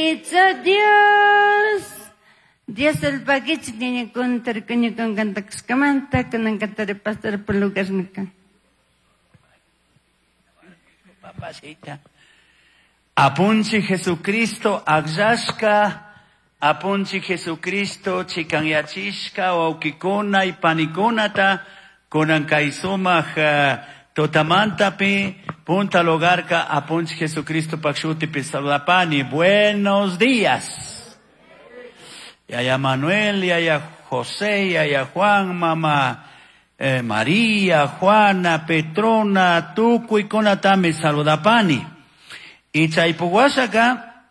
Dios, Dios el paquichi ñaña kuntar kuña con cantakuskamanta kunan cantare pastor por lugar nika. Papacita. Apunchi Jesucristo agllashka, apunchi Jesucristo chikanyachishka wawkikuna y panikunata kunan kay sumaq tutamantapi punta lugarka apunchi Jesucristo pakshutipi saludapani. Buenos días. Yaya Manuel, yaya José, yaya Juan, mama María, Juana, Petrona, tukuykunatami saludapani. Y chaypuwashaka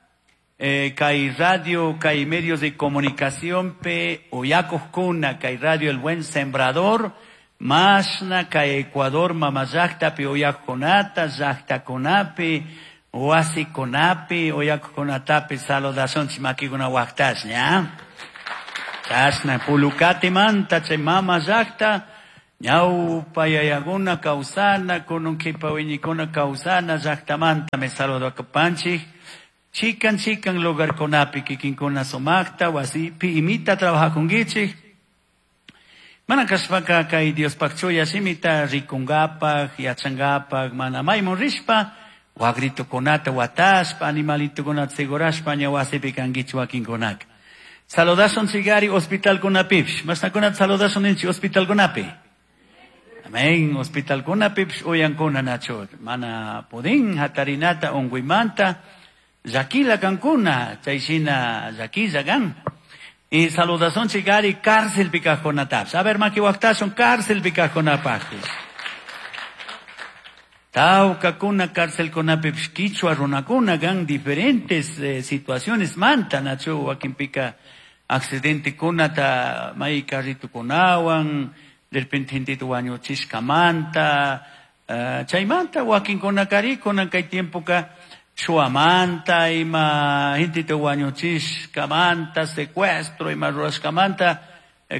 kay radio, kay medios de comunicación pe uyakujkuna, kay radio El Buen Sembrador, mashna kay Ecuador mama llaqtapi uyakujkunata, llaqtakunapi, wasikunapi, uyakujkunatapi saludashunchik makikuna waqtash, ña? Chashna Pulucatimanta chay mama llaqta, ñawpa yayakuna kawsana, kunun kipa wiñikuna kawsana llaqtamanta me saludakupanchik. Chikan chikan lugarkunapi kikinkuna sumaqta wasipi imita trabajakunkichik. Mana kashpaka kay Diospaq chuya shimita rikungapak, yachangapak, mana maymun rishpa, wagritukunata watashpa, animalitukunata segurashpa, ña wasipi kankichik wakinkunaka. Saludashun chigari hospitalkunapipish. Mashnakunata saludashun ninchik hospitalkunapi. Amén. Hospitalkunapipish uyankuna nachu. Mana pudin hatarinata unguymanta, llakila kankuna, chay shina llakilla kan. Y saludashun chigari cárcelpi kajkunatapish. A ver, maki waqtashun cárcelpi kajkunapaqpish. Tawkakuna cárcelkunapipish kichwa runakuna kan diferentes situaciones manta nachu wakinpika accidentekunata may carritukunawan, de repente gentita wañuchishkamanta, chaymanta wakinkunakari kunan kay tiempoka shuamanta, ima gentita wañuchishkamanta, secuestro, ima rurashkamanta,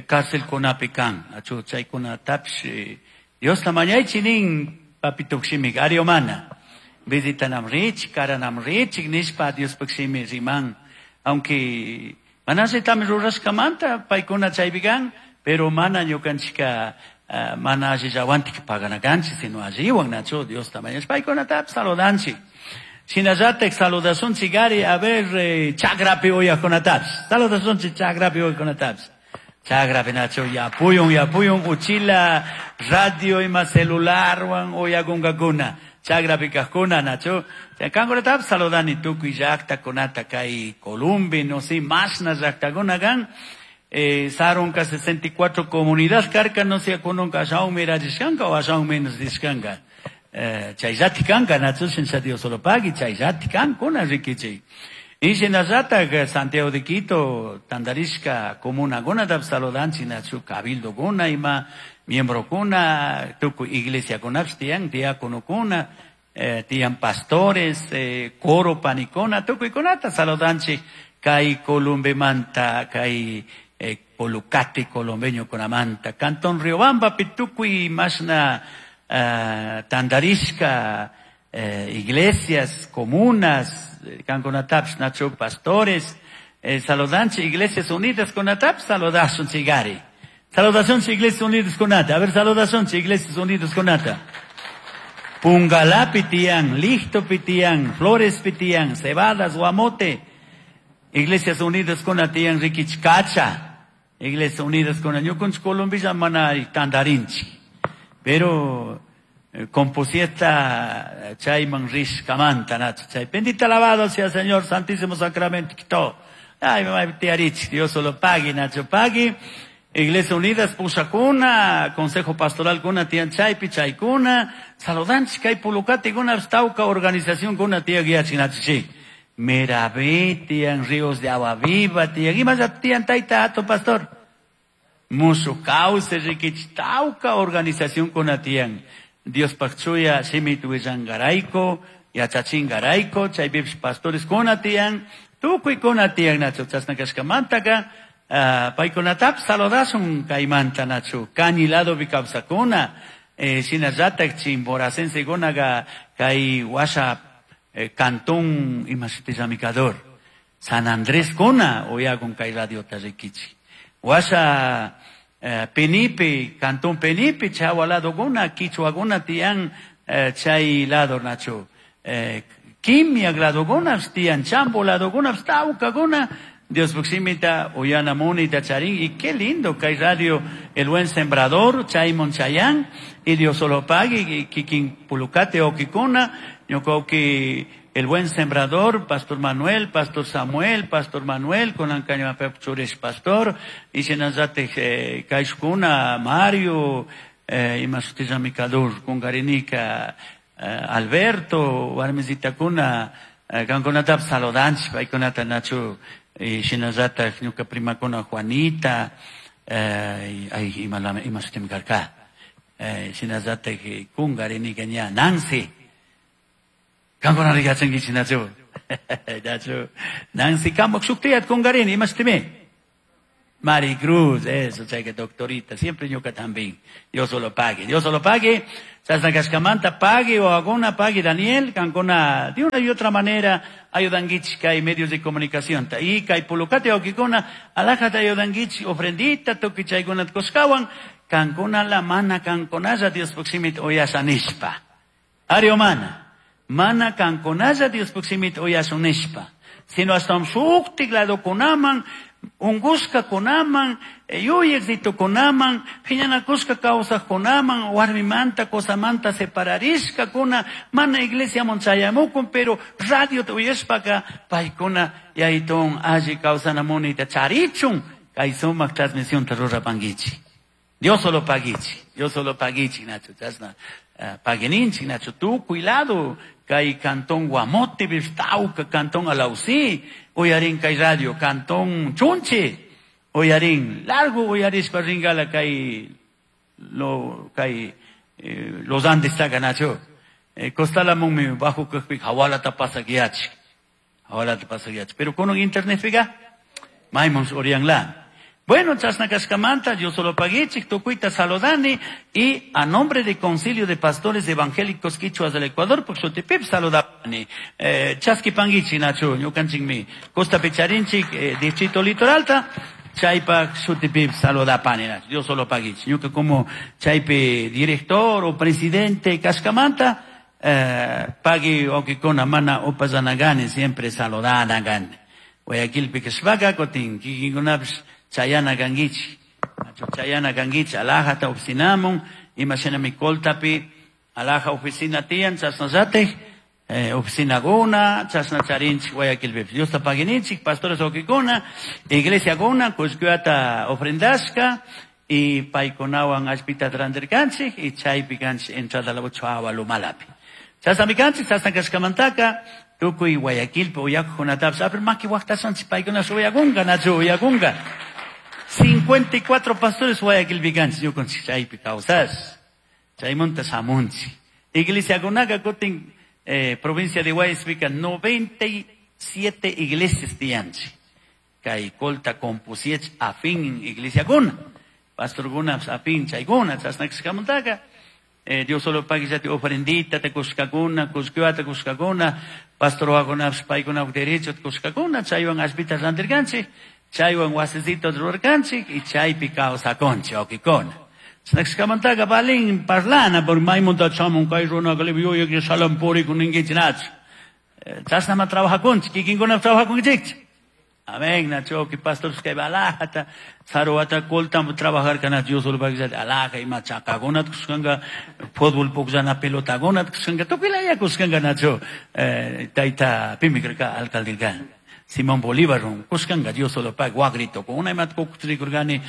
cárcelkunapi kan. Nachu chaykunatapish, Diosta mañaychi nin papito shimik ariomana. Visitanam rich, karanam rich, nishpa Diospaq shimi riman. Aunque manasitami rurashkamanta paykuna chaypi kan, pero mana ñukanchika, mana allillawantik paganakanchik, sino alliwan nachu Diosta mañash paykunatapish saludanchik. Shinallatak saludasunchik ari, a ver, chakrapi uyakunatapish. Saludasunchik chakrapi uyakunatapish. Chakrapi nachu yapuyun, yapuyun, uchila, radio ima celularwan uyakunkakuna. Chakrapi kajkuna nachu. Kankunatapish saludani tukuy llaqtakunata kay Colombia, no sé, mashna llaqtakuna kan. Sarunka 64 comunidad karka, no sé, kununka ashawan mirachishkanka o ashawan menos dishkanka. Chayllati kanka, nachu, shincha Dios solo pagui, chayllati kankuna rikichik. Y shinallatak Santiago de Quito, tandarishka comunakunata saludanchik nachu, cabildokuna ima, miembrokuna, tukuy iglesiakunapish tiyan, diáconokuna, tiyan pastores, coro panikuna, tukuykunata saludanchik kay Columbemanta, kay Pulucate colombeñokunamanta, Cantón Riobamba, tukuy mashna tandarishka iglesias, comunas, kankunatapish nachu pastores, saludanchik Iglesias Unidas kunatapish saludashun chigari. Saludación Iglesias Unidas kunata. A ver, saludación Iglesias Unidas kunata. Pungalá pitian, Listo pitian, Flores pitian, Cebadas, Guamote. Iglesias Unidas kunatian, Riquichcacha. Iglesias Unidas kuna ñukunchik Colombia mana tandarinchik. Pero compusieta chayman rishkamanta nacho chay. Bendita alabado sea el Señor Santísimo Sacramento quitó. Ay, mamá, tiarich, Dios solo pague, Nacho, pague. Iglesia Unidas, Pusacuna, Consejo Pastoral Cuna, Tian Chaypi, Chaykuna, Saludanchik, kay Pulucate, Guna, Tauca, Organización Cuna, Tía Guiachi, Nacho, sí. Merabé, Tian Ríos de Agua Viva, Tian, y más a Tian Taita, Ato Pastor. Musu Cauce, Riquich, Tauca, Organización Cuna, Tian. Dios Pachuya, Shimit Willangaraico, Yachachingaraico, Chaypips Pastores Cuna, Tian, Tukuy Cuna, Tian, Nacho, Chasnakashkamantaka, paykunatap saludasun kaymanta, Nacho, Cañilado Bicapsacuna, shinallatak chimboracense kunaga kay washa cantón imashutillami kador. San Andrés kuna uyakun kay radiota rikichik. Washa Penipe, Cantón Penipe, chawa lado guna, quichua guna tiyan chay lado nacho. Kimia lado guna, tiyan chambo lado guna, tauca guna, Dios proximita, uyana munita charín, y qué lindo kay radio El Buen Sembrador, Chaymon Chayán, y Dios solo pague, y kikin pulucate o kikuna, ñukoki El Buen Sembrador, Pastor Manuel, Pastor Samuel, Pastor Manuel, con Ancaño Chures Pastor, y Shenazate Kaishkuna, Mario, Imasutiza Mikadur, Kungarinika, Alberto, Warmizita Kuna, Gankonatap Saludanch, Paikonata Nacho, y Shenazata, Ñuka Prima Kuna Juanita, ay, Imasutim Karka, Shenazate Kungarinika Ña, Nancy, Kankuna rikachankichik nachu. Nachu. Nancy Kamok shuktiyat kungarini, imastimi. Mari Cruz, eso, que doctorita, siempre ñuka también. Dios solo pague, Dios solo pague. Chasna kashkamanta pague o alguna pague Daniel, kankuna de una y otra manera ayudanguich kay medios de comunicación. Y kay pulukate okikuna, alajata ayudanguich ofrendita, tuki chaykunat koskawan, kankuna la mana kankunalla Dios proximit oyasanishpa. Ariomana. Mana kankunalla Dios proximit oyasunishpa. Sino hasta un shuktik lado kunaman, ungushka kunaman, yuyekzito kunaman, phiñanakushka kawsaq kunaman, warmimanta, qosamanta separarishka kuna, mana iglesia chayamukun, pero radio uyashpaka paykuna yaytun alli kawsanamunita charichun, kay sumaq transmisionta rurapankichik. Dios solo pagichi, Dios solo pagichi, Nacho, chasna pagueninchi, Nacho, tukuy lado, kay cantón Guamote, Bistauca, cantón Alausí, uyarin kay radio, cantón Chunche, uyarin, largo uyarishpa ringala kay, lo, kay, los Andes taca, Nacho, costala mummi bajo kajpi, hawala pasakiachi, hawala pasakiachi, pero con internet figa, maimons orianla. Bueno, chasna kashkamanta, yo solo paguichik, tukuita saludani, y a nombre del Concilio de Pastores Evangélicos Quichuas del Ecuador, por su tipip saludani. Chaski panguichi, Nacho, ñukanchikmi, Costa Picharinchik, Distrito Litoralta, chaypak shutipip saludapani, Nacho, yo solo paguichik. Ñuka como chaype director o presidente kashkamanta, pagui okikona mana opazanagani, siempre saludanagani. Guayaquilpi kashpaka, kotin, kikinkunapis, Chayana kangichi, Chayana kangichi, alajata oficinamun, imashina mi koltapi, alaja oficina tiyan, chasnazate, oficina guna, chasna charinchi, Guayaquilpi. Dios ta paguinichik, pastores okikuna, iglesia guna, kushkuata ofrendashka, y paikunawan allpita trandirkanchik, y chaypi kanchik entrada la ochoa lumalapi. Chasna mikanchik, chasna kashkamantaka, tukuy Guayaquilpi, uyakukunatapas, aber maki waqtasanchik, paykuna uyakunka, nachu uyakunka. 54 pastores Guayaquilpi kanchik, ñukanchik chaypi kawsas. Chaymunta shamunchik. Iglesia kunaqa kutin provincia de Guayas-pica 97 iglesias tiyanchik. Kay Colta compusiech afín iglesia kuna. Pastor kuna afín chaykuna, chasna kashkamantaka. Dios solo paguillate ofrendita te kushkakuna, kushkiwata kushkakuna, pastor wakuna paykuna derecho te kushkakuna, chaywan allpita randirkanchik, chaywan wasicito rurarkanchik, y chaypi kawsakunchik, okikuna. Chasnakashkamantaka balin parlana, por maymunta chamun kay runaka yuyaq salam purikun ninkichik nachu. Chasnama trabajakunchik, kikinkuna trabajakunchikchu. Amén, Nacho, que pastor que balajata, saruata colta trabajar kana Dios solo paguillate alaja y machacagona kushkanga fútbol pukllana pelotagona kushkanga tukilaya kushkanga Nacho, taita pimikrka alcalde Simón Bolívar kushkanga Dios solo pag guagrito con una imat kukutrikurgani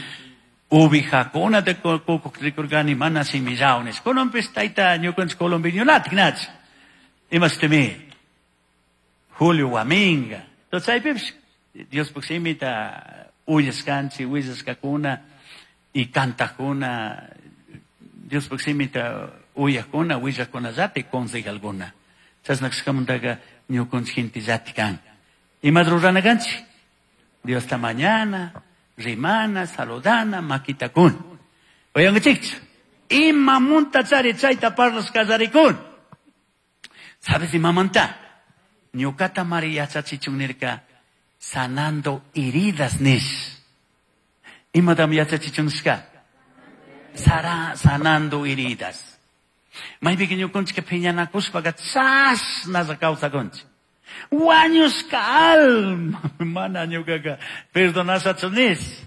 ubijacona de kukutrikurgani mana simillaunes konompis taita ñukanchik colombinionatik Nacho imastemi Julio Guaminga entonces ahí Dios proximita uyaskanchik, willaskakuna y kantakuna, Dios proximita uyakuna, willakunallati consejalkuna. Chasna kashkamantaka ñukanchik gentellati kan. Ima rurana kanchik? Dios ta mañana, rimana, saludana, makitakuna. Uyankichikchu? Imamunta chari chayta parlas kallarikun. ¿Sabes imamanta? Ñukata mari yachachichun nirka. Sanando heridas nish. Imatam yachachichun nishka? Sanando heridas. Maypika ñukunchik phiñanakushpaka chashnalla kawsakunchik. Wañushka alma mana ñukaka perdonashachu nish.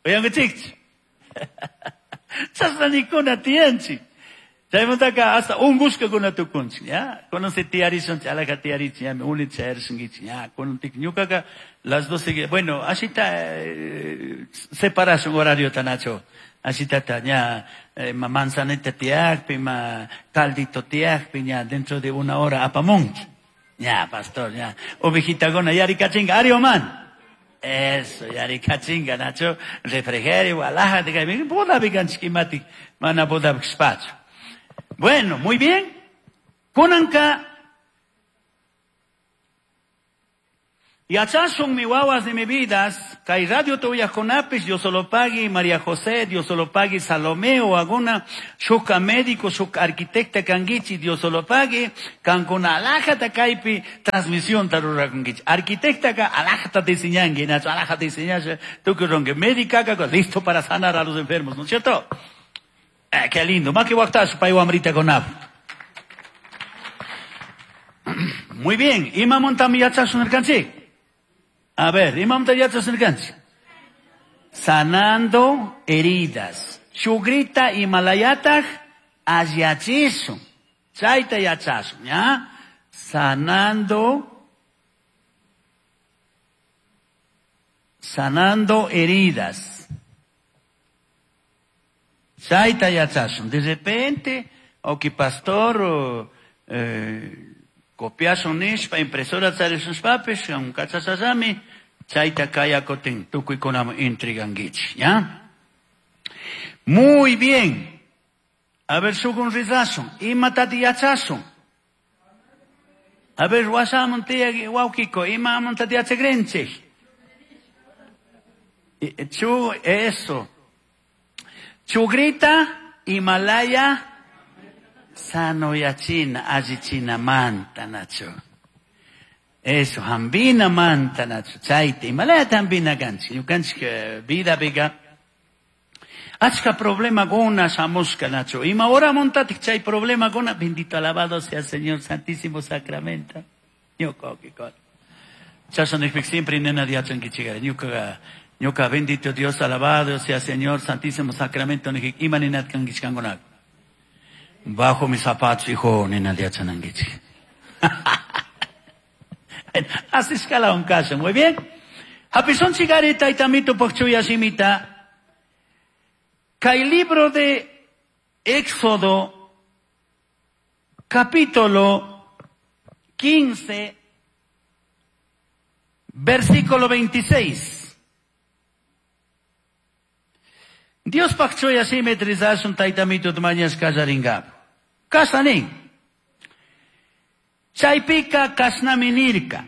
Uyankichikchu? Chashna nikuna tiyanchik. Chaymantaka hasta ungushkakuna tukunchik, ya? Kunan si tiyarishunchik, alaja tiyarichik, ya, uni chayarishunkichik, ya? Kunan tik ñukaka las 12, bueno, ashita separashun horario nacho. Ashitata ña ma manzanita tiyakpi, ma caldito tiyakpi, ña dentro de una hora apamunchik. Ya, pastor, ya. Ovejitakuna yarikachinga, ari man. Eso, yarikachinga, nacho, refrigerio, alaja, bodapi kanchik imatik, mana bodapi kashpachu. Bueno, muy bien. Kunanka yachashun mi wawas de mi vidas, kay radio tuyajkunapis, Dios solo pagui María José, Dios solo pagui Salomé o alguna shuka médico, shuka arquitecta kangichi, Dios solo pagui, kankuna alajata kaypi transmisión tarurakunkichi. Arquitecta ka alajata diseñangi, nacho alajata diseñasha, tukuy ronque, médica ka listo para sanar a los enfermos, ¿no es cierto? Qué lindo. Maki waktash pay wamrita konap. Muy bien. Imamuntami yachashun nirkanchik. A ver, imamunta yachashun nirkanchik. Sanando heridas. Chugrita imalayataj allachishun. Chayta yachashun, ¿ya? Sanando heridas. Chayta yachashun. De repente, oki pastor, copiashun nishpa, impresora charishunshpapish, un kachashallami, chayta kayakotin, tukuykunaman intrigankichik, ¿ya? Muy bien. A ver, shukun rizashun, imatati yachashun. A ver, washamun tiya wawkiko, imamuntati yachakrinchik. Chu, eso. Chugrita, Himalaya, sanoyachina, allichina manta, nacho. Eso, hambina manta, nacho. Chayta, Himalaya hambina kanchik. Ñukanchik vida biga. Achka problema gona shamushka, nacho. Ima hora montatik chay problema gona. Bendito alabado sea Señor Santísimo Sacramento. Ñuka, okikon. Chasha nijpik siempre nena diachankichigara. Ñuka, ñuka bendito Dios alabado sea Señor Santísimo Sacramento nijik ima ninat kankichkankunak. Bajo mis zapatos, hijo, nena diachanankichik. Así escala un caso, muy bien. Hapison chigari taitamito pokchuya shimita. Kay libro de Éxodo, capítulo 15, versículo 26. Dios pakchuya simetrizashun taitamito mañas kallaringap. Kasanin. Chaypika kasnaminirka.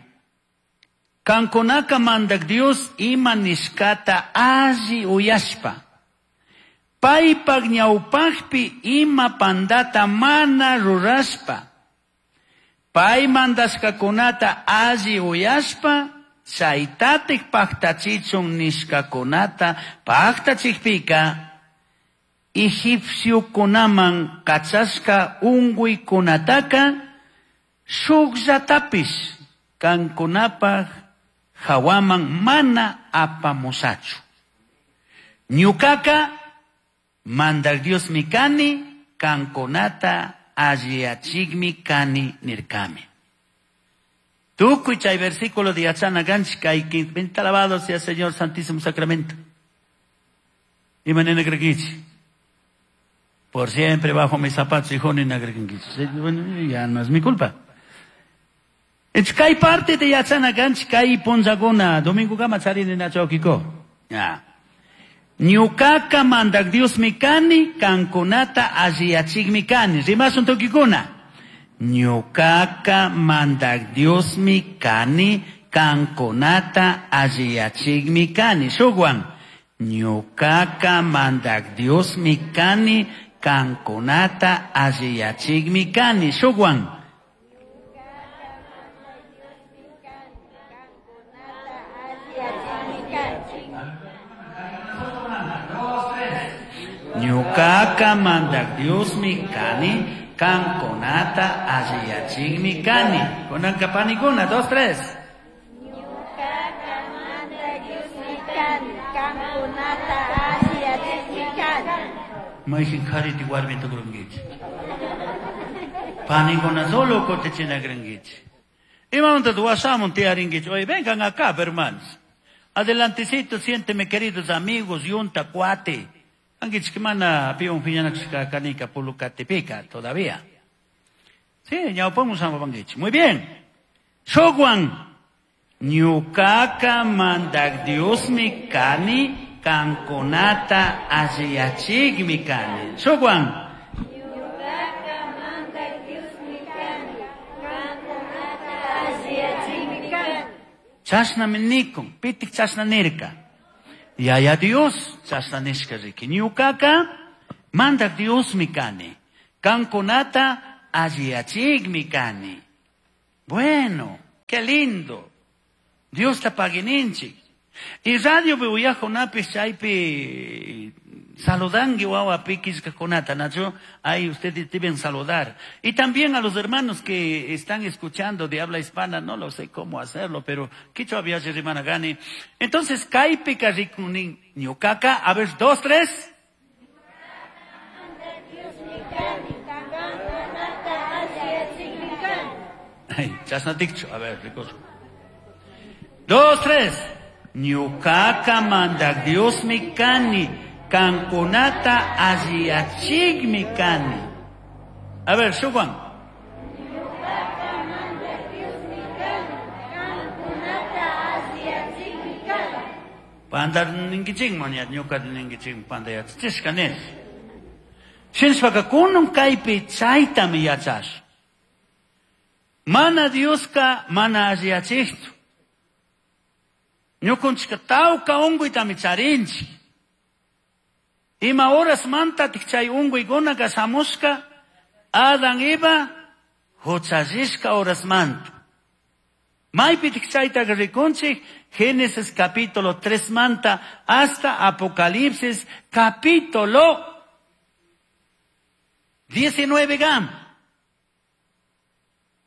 Kankunaka mandak Dios ima nishkata alli uyashpa. Paypak ñawpaqpi ima pandata mana rurashpa. Pay mandashkakunata alli uyashpa, chaytatik paktachichun nishkakunata paktachikpika, egipciokunaman kachashka unkuykunataka shukllatapish kankunapaj hawaman mana apamusachu. Ñukaka mandak Dios mi kani, kankunata alliyachikmi kani nirkami. Tukuy chay versículo de yachana ganchik kay bendito alabado sea Señor Santísimo Sacramento. Ima nena crekichi. Por siempre bajo mis zapatos, hijo, nena crekichi. Bueno, ya no es mi culpa. Kay parte de yachana ganchik kay punzaguna domingo kama chari nena chokiko. Ya. Ñukaka mandak Dios mi kani, kankunata alliyachikmi kani. Rimasun tukikuna. Ñukaka mandak Dios mi kani, kankunata alliyachikmi kani. Shukwan. Ñukaka mandak Dios mi kani, kankunata alliyachikmi kani. Shukwan. Ñucaca Mandac Diosmi cani, kankunata alliyachikmi kani. Kunanka panikuna, dos, tres. Ñucaca Mandac Diosmi cani, kankunata alliyachikmi kani. Mayqin qhariti warmi tukurunkichik. Panikuna solo kutichinakurinkichik. Imamanta washamun tiyarinkichik. Oye, vengan acá, hermanos. Adelantecito, siénteme, queridos amigos, yunta, cuate. Ankichik mana piwan phiñanakushka kanika pulukatipika todavía. Sí, ñawpamun samapankichik. Muy bien. Shukwan. Ñucaca Mandac Diosmi kani, kankunata alliyachikmi kani. Shukwan. Ñucaca Mandac Diosmi kani, kankunata alliyachikmi kani. Chashnami nikun, pitik chashna nirka. Yaya Dios chashna nishka riki. Ñucaca Mandac Diosmi kani, kankunata alliyachikmi kani. Bueno, qué lindo. Dios ta paguininchik. Y radio pi uyajkunapish chaypi saludanki wawa pikishkakunata, Nacho. Ahí ustedes deben saludar. Y también a los hermanos que están escuchando de habla hispana, no lo sé cómo hacerlo, pero quichua viaje rimana gani. Entonces, kaypika rikunin ñukaka, a ver, dos, tres. Ay, chasna tikchu, a ver, ricos. Dos, tres. Ñucaca Mandac Diosmi kani, kankunata alliyachikmi kani. A ver, Shuguan. Ñucaca Mandac Diosmi kani, kankunata alliyachikmi kani. Panda ninkichikman ya, ñuka ninkichikman panda yachachishka nis. Shinashpaka kunun kaypi chaytami yachash. Mana Dioska mana alliyachikchu. Ñukunchika tawka unkuytami charinchik. Ima horas mantatik chay unkuykunaka shamushka, Adán Eva huchallishka horas manta. Maypitik chaytaka rikunchik, Génesis capítulo 3 manta hasta Apocalipsis capítulo 19 gam.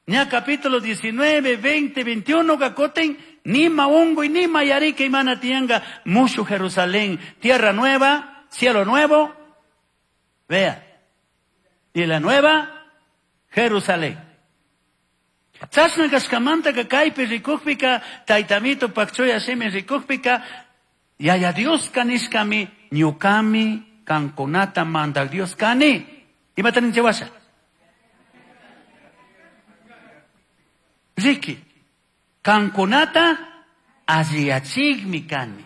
Ña capítulo 19, 20, 21 kakoten, nima unguy, nima yarika imana tianga, mushu Jerusalén, tierra nueva, cielo nuevo, vea, y la nueva Jerusalén. Chashna kashkamanta ka kaypi rikukpika, taytamito pakchoya shimi rikukpika, Yaya Dios kanishkami, ñukami, kankunata mandak Dios kani. Imata ninche washa? Riki, kankunata alliyachikmi kani.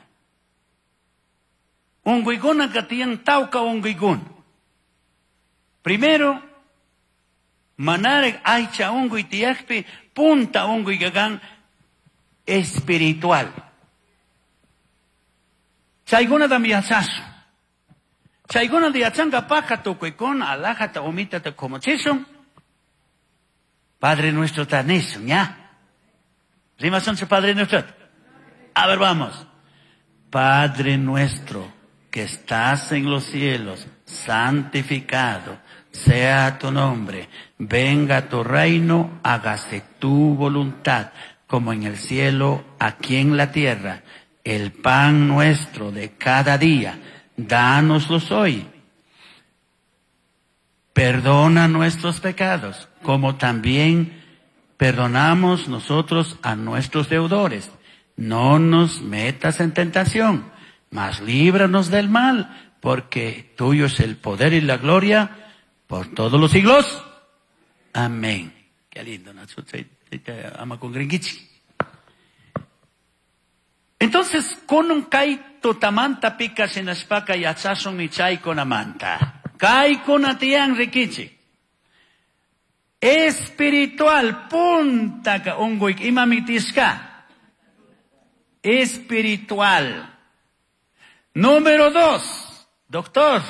Unguykuna katiyan tawka unguykuna. Primero, manarek aycha unguy tiyakpi, punta unguy kakan espiritual. Chaykunatami yachashun. Chaykunata yachankapajka tukuykuna alajata umitata kumuchishun. Padre nuestro tanishun, ¿ya? Rimasunchu Padre nuestro. A ver, vamos. Padre nuestro que estás en los cielos, santificado sea tu nombre. Venga tu reino, hágase tu voluntad, como en el cielo, aquí en la tierra. El pan nuestro de cada día, dánoslos hoy. Perdona nuestros pecados, como también perdonamos nosotros a nuestros deudores. No nos metas en tentación, mas líbranos del mal, porque tuyo es el poder y la gloria por todos los siglos. Amén. Qué lindo, ¿no? Ama con gringuichi. Entonces, con un kaito tamanta pica shinashpaka yachashun y chay con amanta. Kai con atian rikichi. Espiritual, punta ka unguik imamitiska. Espiritual. Número 2, doctor.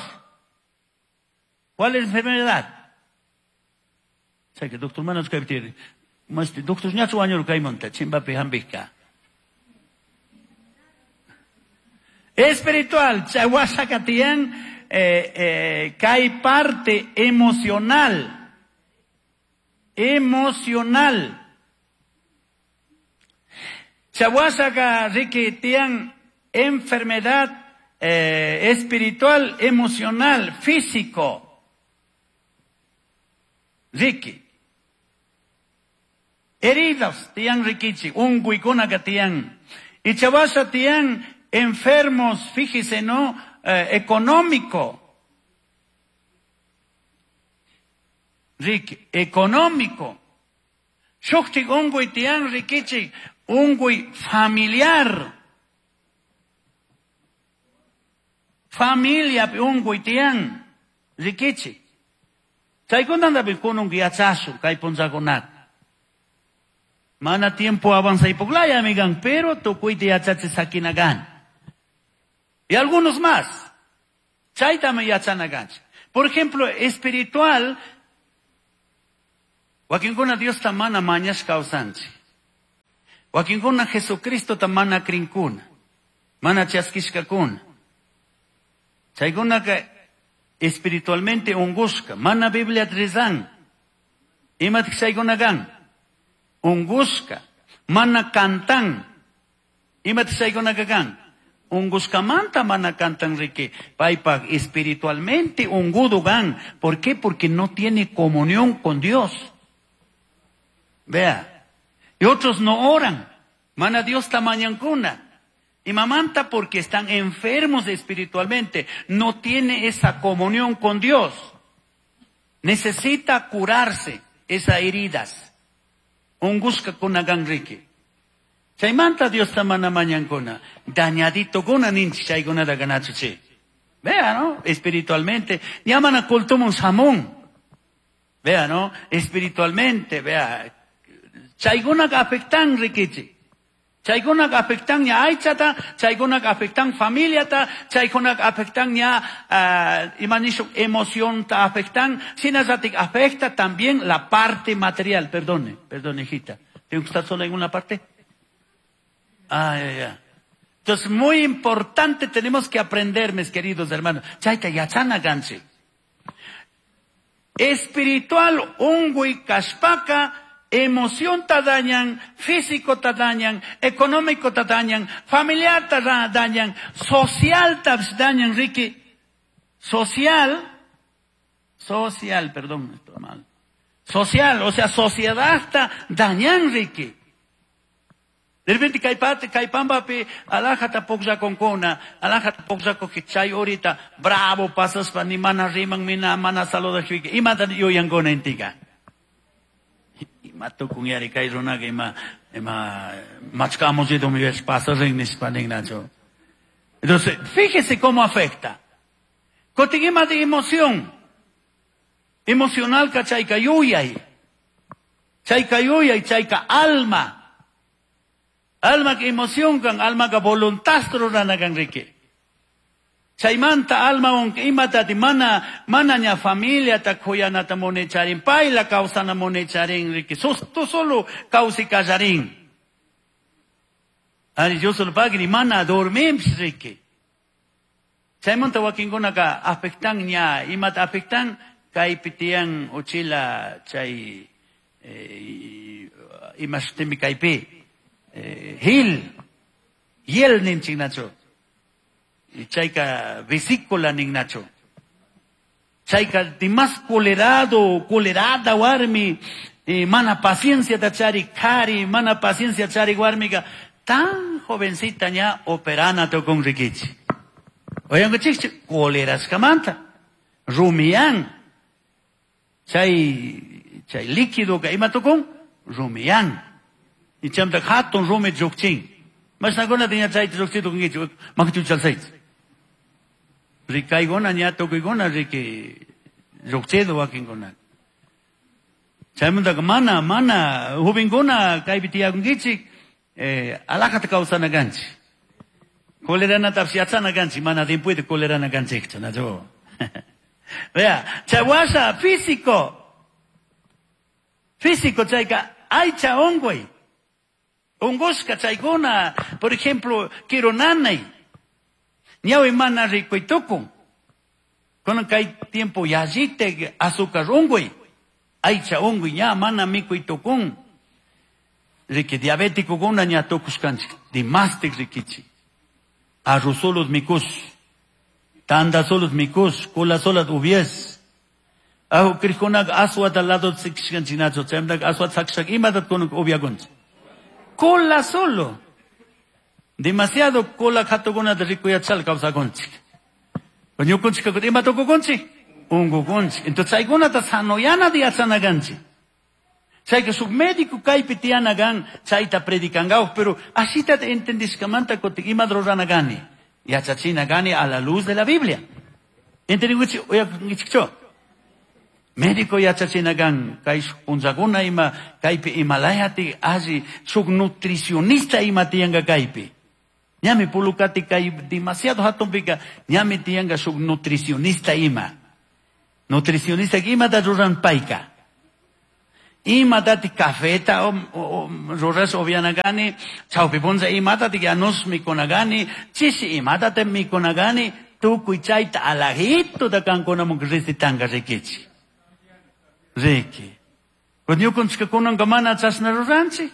¿Cuál es la enfermedad? Sé que doctor manos que tiene. Mas doctor ñachu año kaimanta chimbapi hambika. Espiritual, chawashakatian, kay parte emocional. Emocional. Chawashaka riki tian enfermedad espiritual, emocional, físico. Riki. Heridas tian rikichi, unguikuna que tian. Y chawasha tian enfermos, fíjese, ¿no? Económico. Riki, económico. Shukti ungui tian rikichi, ungui familiar. Familia ungui tian rikichi. Chaykunanta kunun yachasu kay punchakunata. Mana tiempo avanza y poglaya, amigan, pero tukuyta yachachi sakinagan. Y algunos más. Chaytami yachanaganchi. Por ejemplo, espiritual, wakinkuna Dios ta mana mañash kawsanchi. Wakinkuna Jesucristo ta mana krinkuna. Mana chaskishkakuna. Chaykunaka espiritualmente ungushka. Mana Biblia rezan. Imatik chaykunakan. Ungushka. Mana cantan. Imatik chaykunakakan. Ungushkamanta mana cantan riki. Paypak espiritualmente ungudo gan. ¿Por qué? Porque no tiene comunión con Dios. Vea. Y otros no oran. Mana Dios tamañancuna. Y mamanta porque están enfermos espiritualmente. No tiene esa comunión con Dios. Necesita curarse esas heridas. Ungushka kuna gan riki. Chaymanta Dios tamana mañancuna. Dañadito kuna ninchi chaykuna da ganachuchi. Vea, ¿no? Espiritualmente. Llaman a cultumun samón. Vea, ¿no? Espiritualmente, vea. Chaykuna afectan rikichi. Chaykuna afectan ña aychata, chaykuna afectan familiata, chaykuna afectan ña imanisho emoción ta afectan, sinazatik afecta también la parte material. Perdone, perdone, hijita. ¿Tengo que estar sola en una parte? Ah, ya, ya. Entonces, muy importante, tenemos que aprender, mis queridos hermanos. Chayta yachana ganchi. Espiritual, ungui kashpaka, emoción ta dañan, físico ta dañan, económico ta dañan, familiar ta dañan, social ta dañan, Ricky. Social, social, perdón, estoy mal. Social, o sea, sociedad ta dañan, Ricky. De repente kaypate, kaypambapi, alajata puklla konkuna, alajata puklla chay ahorita, bravo, pasaspa, ni mana riman, mina, mana saluda, imata yuyankuna intika. Ima tukun yari kay runaqa ima, ima, machkamuchito mi ves pasarin nispa ninnacho. Entonces, fíjese cómo afecta. Kotin ima de emoción. Emocional ka chayka yuyay. Chayka yuyay, chayka alma. Alma que emoción kan, alma que voluntad rurana kan riki. Chaymanta alma on imata ti mana, mana ña familia ta khuyanata monecharin, payla kawsana monecharin riki. Tu solo kawsi kallarin. Ari yo solo pagri mana dormimps riki. Chaymanta wakinkuna ka afectan ña, imata afectan kaypi tiyan uchila chay imashtimi kaypi. Hil, hiel ninchik nacho. Chayka vesícula nin nacho. Chayka dimas colerado, colerada warmi, mana paciencia ta chari kari, mana paciencia chari warmiga, tan jovencita ña operana to con rikichi. Oyango chikchi, coleraskamanta, rumián. Chay, chay líquido ka ima tokon, rumián. Y chamta hatun rumi llukchin. Mashnakuna tiña chayta llukchito kunkichi, makichu chalsaychi. Rikaykuna ña tukuykuna riki llukchido wakinkuna. Chaymantaka mana, mana, jovenkuna kaypi tiyakunkichik, alajata kawsana kanchik. Coleranatapis yachana kanchik, mana tiempoyta colerana kanchikchu, nachu. Vea, chawasha físico. Físico chayka aycha unguy. Ungushka chaykuna, por ejemplo, quiero nanay. Ñawi mana rikuy tukun. Kunan kay tiempo yallite azúcar unguy. Aycha unguy ña mana mikuy tukun. Riki diabético kuna ña tukushkanchik. Dimastik rikichi. Arroz mikus. Tanda solos mikus. Cola solas ubies. Ahu krikunak aswata lado tsikshkanchinacho. Chaymantaqa aswata sakshak imatat kunan ubiakunchik. Cola solo. Demasiado cola khatukunata rikuyachal kawsakunchik. Ñukunchik ima tukukunchik? Unkukunchik. Entonces chaykunata sanoyanata yachanakanchik. Chayka suk médico kaypi tiyanakan chayta predicankawaq, pero asita entendishkamanta kutin imata ruranakani. Yachachinakani a la luz de la Biblia. Entendinkichik uyakunkichikchu? Médico yachachinakan kay punllakuna ima kaypi imalayati alli suk nutricionista ima tiyanka kaypi. Ñami pulukati kay demasiado hatunpika ñami tiyanka suk nutricionista ima. Nutricionista imata ruran payka. Imatati cafeta ruras upianakani, chawpi punlla imatati yanus mikunakani, chishi imatati mikunakani, tukuy chayta alajituta kankunamun recetanka rikichik. Riki. Ñukunchika kunanka mana chashna ruranchik.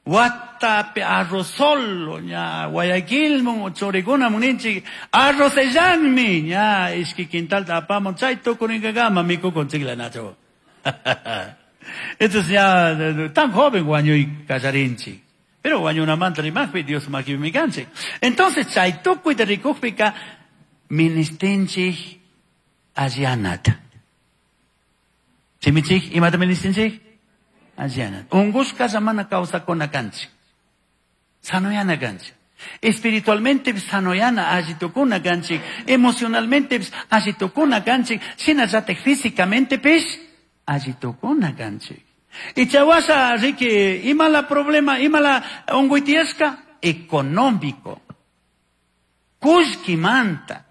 Watapi arroz solo, ña Guayaquilmun churikunamun ninchik, arrozellanmi, ña ishki quintalta apamun, chay tukurinkakama mikukunchikla nacho. Entonces ya tan joven wañuy kallarinchik. Pero wañunamanta rimaqpi Dios makipimi kanchik. Entonces chay tukuyta rikukpika ministinchik allianata. Chimichik, imata ministinchik? Allianata. Ungushkalla mana kawsakuna kanchik. Sanoyana kanchik. Espiritualmente sanoyana alli tukuna kanchik. Emocionalmente alli tukuna kanchik. Shinallatik físicamente pish alli tukuna kanchik. Y chawasha riki, imala problema, imala unguy tiyashka? Económico. Kullkimanta.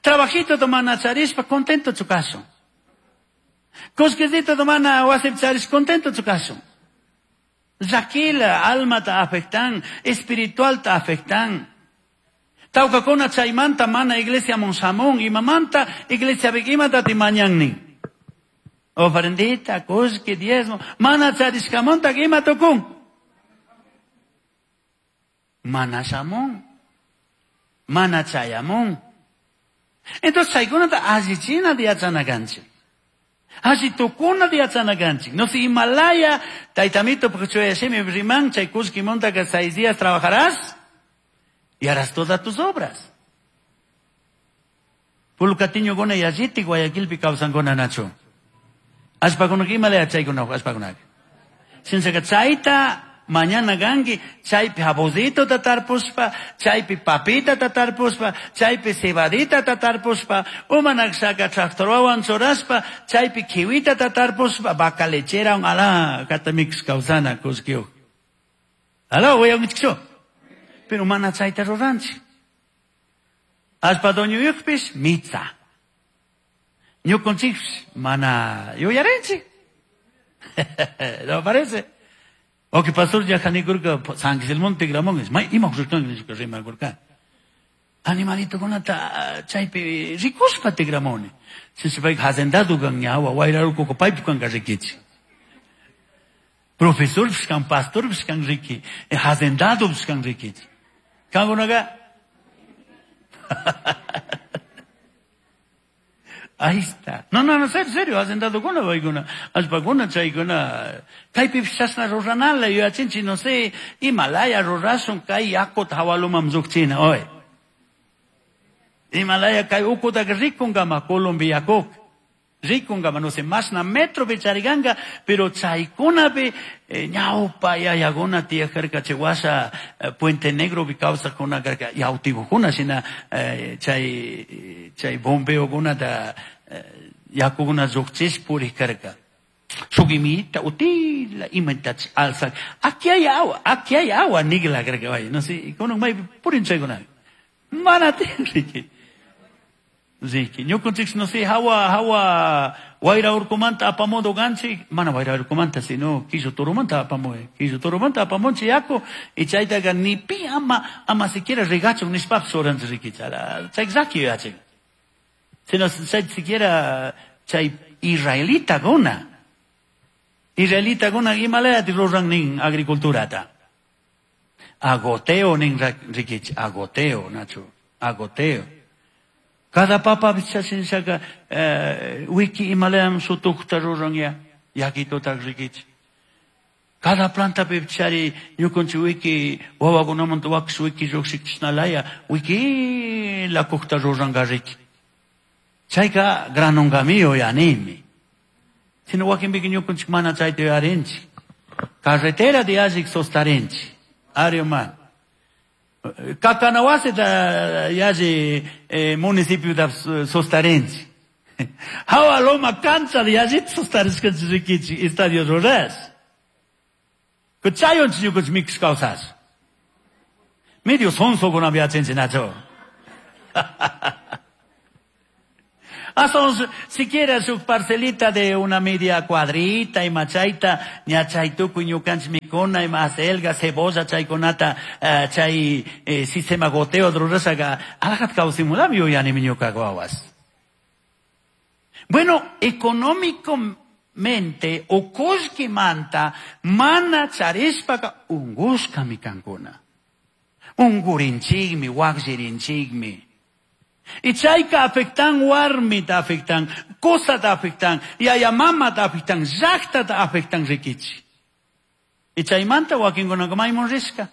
Trabajito mana charishpa contento chukashun. Kullkisito mana wasipi charish contento chukashun. Llakila almata afectan, espiritualta afectan. Tawkakuna chaymanta mana iglesia monsamón, imamanta iglesia imata timañannin. Ofrendita, kullki, diezmo, mana charishkamonta ima tukun. Mana shamun, mana chayamun. Entonces chaykunata allichina yachana kanchik. Alli tukuna yachana kanchik. No si Himalaya, taytamito, porque riman, chay kullkimonta que 6 días trabajarás y harás todas tus obras. Pulcatiño gona yalliti Guayaquilpi kawsankuna nachu. Allpakunaka imalaya chaykuna allpakunaka. Shinashaka chayta mañana kanki, chaypi jabositota tarpushpa, chaypi papitata tarpushpa, chaypi cebaditata tarpushpa, umanakshaka tractorwan churashpa, chaypi kiwitata tarpushpa, vaca lechera ala katamix kawsana kullkiyuq. Ala uyankichikchu. Pero mana chayta ruranchik. Allpa dueñoyuqpish mitsa. Ñukunchikpish mana yuyarinchik. ¿No parece? O que pastor ya janikurka San Guillermo tigramón es may ima jurkan nishka rimarkurka. Animalito kunata chaypi rikushpa tigramoni. Sisipay hacendado kan ñawa wayraruku paypi kan rikichi. Profesor kan pastor kan riki, hacendado kan rikichi. Kangunaga Ahí está. No, no, no, serio, serio, hacendado kuna paykuna, allpakuna chaykuna, kaypi chashna ruranala yuyachinchik, no sé, Himalaya rurashun kay yakuta hawaluman lluqchina hoy. Himalaya kay ukutaka rikunkama Colombia yakuk. Rikunkama, no sé, mashna metropi charikanka, pero chaykunapi ñawpa yayakuna tiyakarka chay washa Puente Negropi kawsakuna karka yawtikukuna shina chay chay bombeokunata yakukuna lluqchish purik karka. Shuk imita utila imatash alzak. Aquí hay agua nigla karka vaya, no sé, kunan maypi purin chaykuna. Mana tiyan riki. Riki, ñukunchik no sé, hawa Wayra urkumanta apamudu ganchik, mana wayra urkumanta, sino quillo turumanta apamuy. Quillo turumanta apamunchi yaku, y chaytaqa ni pi ama siquiera regachun nishpapis churanchik riki, chay llaki yuyachin. Sino chay siquiera chay israelitakuna. Israelitakuna imalayati ruran nin agriculturata. Agoteo nin rikichi, agoteo, nachu, agoteo. Cada papa chashinshaka wiki imalayam sutukta ruran ya, yakituta rikichi. Cada planta chari ñukunchik wiki wawakunamanta wakish wiki lluqshikchishnalaya wiki lakukta ruranka riki. Chayka granungamiyo yanimi. Sino wakinpika ñukunchik mana chayta yuyarinchik. Carretera de allik sostarinchik. Ari man. Kakanawasita yalli municipio da sostarinchik. Hawa loma cancha de yallit sostarishkanchik rikichik estadio rurash. Kuchayonchik ñukunchik mikush kawsash. Medio sonsokunapi yachanchik nacho. Hasta siquiera su parcelita de una media cuadrita y machaita, ña chay tukuy ñukanchik mikuna y acelga, cebolla, chaykunata, chay sistema goteo rurashaga, alajat kawsimulami yuyani ñuka wawas. Bueno, económicamente o kullkimanta mana charishpaka ungushkami kankuna. Ungurinchikmi, wakllirinchikmi. Y chayka afectan warmita afectan, cosata afectan, yaya mamata afectan, llaqtata afectan rikichi. Y chaymanta wakinkunaka maymun rishka.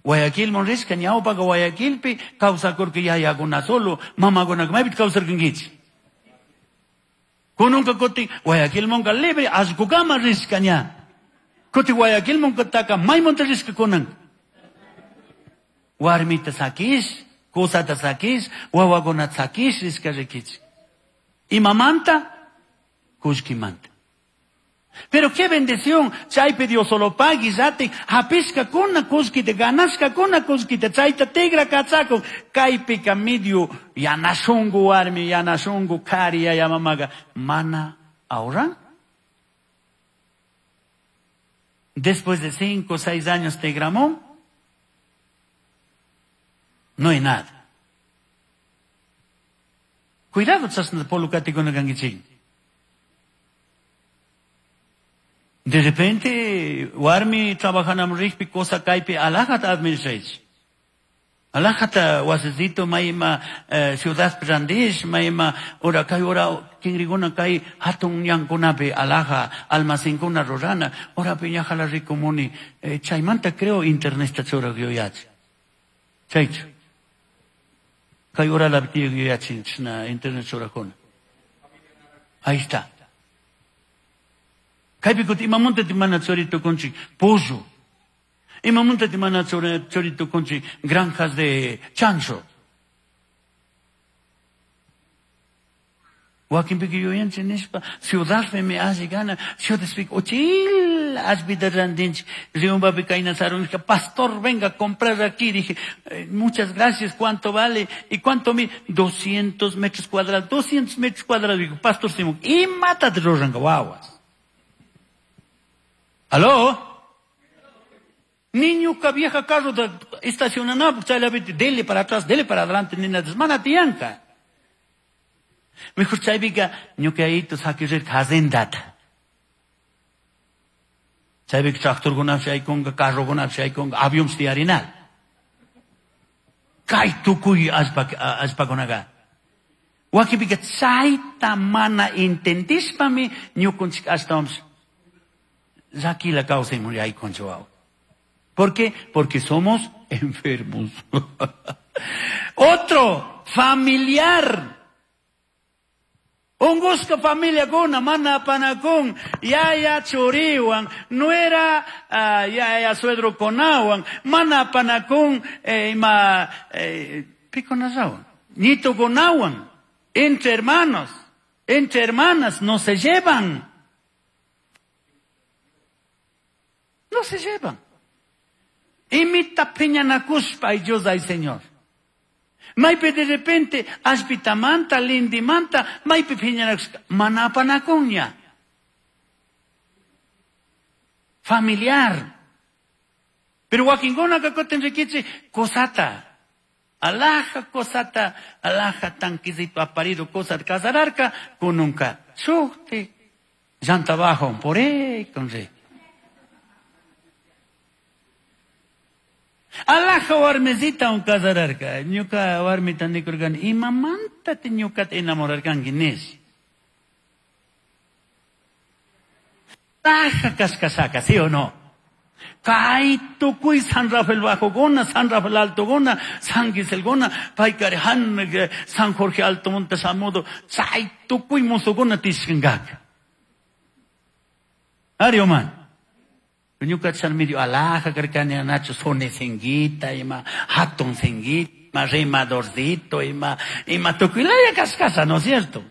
Guayaquilmun rishka, ñawpaka Guayaquilpi kawsakurka yayakuna solo, mamakunaka maypi kawsarkankichik. Kununka kutin Guayaquilmunka libre allqukama rishka ña. Kutin Guayaquilmunkataka maymunta rishka kunan. Warmita sakish, kusata sakish, wawakunata sakish rishka rikichik. Imamanta, kullkimanta. Pero qué bendición, chaypi Dios solo pagui, yati, hapishka kuna kullkita, ganashka kuna kullkita, chayta tigra kachakun, kaypika medio yanashungu warmi, yanashungu kari yaya mamaga, mana ahorran. Después de 5 o 6 años tigramón, no hay nada. Cuidado, chasna polukatikuna kankichik. De repente, warmi trabajanam rikpi cosa kaypi alajata administraychik. Alajata wasisito mayma ciudad randish, mayma ora kay ora kingrikuna kay hatun ñankunapi alaja almacenkuna rurana, ora piñajala rikumuni, chaymanta creo interneta churaq yuyachi. Chaychu. Kay ora la yuyachin chashna internet churaqkuna. Ahí está. Kaypi kuti imamunta mana churi tukunchik pollo. Imamunta mana churi tukunchik granjas de chancho. Wakinpika yuyanchik nishpa ciudadpimi alli gana, ciudadpika uchil allpita rantinchik. Riumbapi kayna sarunishka, pastor, venga a comprar aquí. Dije, muchas gracias, ¿cuánto vale? ¿Y cuánto mi? 200 metros cuadrados, 200 metros cuadrados. Dijo, pastor Simón, y mátate ruranka wawas. ¿Aló? Niño que vieja carro de estacionana, chayla vete, dele para atrás, dele para adelante, nina desmana tianca. Mejor chaypica ñuqayito saquirir hazendata. Chaypica tractorkunapish aykunka, carrokunapish aykunka, avionpish tiyarinal. Kay tukuy allpakunaka. Wakinpika chayta mana entendishpami ñukunchik ashtawanpish llakila kawsaymun yaykunchik wawa. ¿Por qué? Porque somos enfermos. Otro, familiar. Ungushka familiakuna, mana apanakun, yaya churiwan, nuera, yaya suegro-kunawan, mana apanakun, ima, pikunallawan, ñitukunawan, entre hermanos, entre hermanas, no se llevan. No se llevan. Imita piñanakushpa, ay Dios, ay Señor. Maypi de repente allpitamanta, lindimanta, maypi phiñanakushka mana apanakunña. Familiar. Pero wakinkunaka kutin rikichik cosata. Alaja cosata, alaja tanquecito aparido cosa casararca, kununka shukti. Llanta bajo, por ahí, con re. Alaja warmecita un casararca. Ñuka warmita nikurkani, imamanta te ñukata enamorarkanki nish. Alaja kashkashaka, ¿sí o no? Kay tukuy San Rafael Bajo gona, San Rafael Alto gona, San Gisel gona, paykari han, San Jorge Alto Monte Samudo, chay tukuy musuguna tishkangaka. Ari oman. Ñuka chan medio alaja karkani anacho sone senguita, ima hatun senguita, ima remadorcito, ima tukuylaya kashkasha, ¿no es cierto?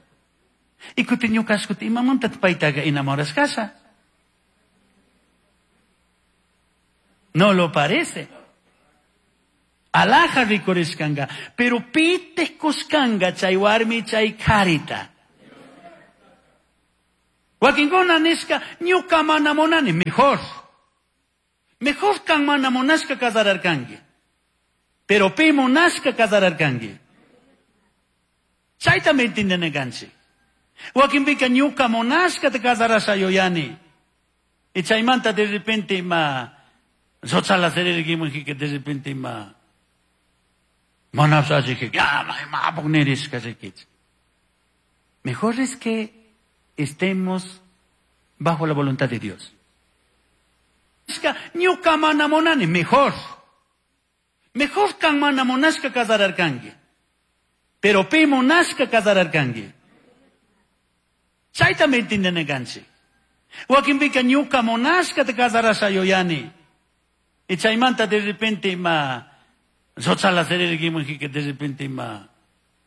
Y kuti ñuka ashkuti imamanta paytaga enamorashkasha. No lo parece. Alaja rikurishkanga, pero pite kushkanga chay warmi chay karita. Wakinkuna nishka ñuka mana munani, mejor. Mejor kan mana munashka casararkanki. Pero pi munashka casararkanki. Chayta me entienden kanchik. Wakinpika ñuka munashka te casarasha yuyani. Y chaymanta de repente ma Sochala que de repente ma Mejor es que estemos bajo la voluntad de Dios. Ñuka mana munani, mejor. Mejor kan mana munashka casararkanki. Pero pi munashka casararkanki. Chayta me entienden kanchik. Wakinpika ñuka munashka te casarasha yuyani. Y chaymanta de repente ma Sochala que de repente ma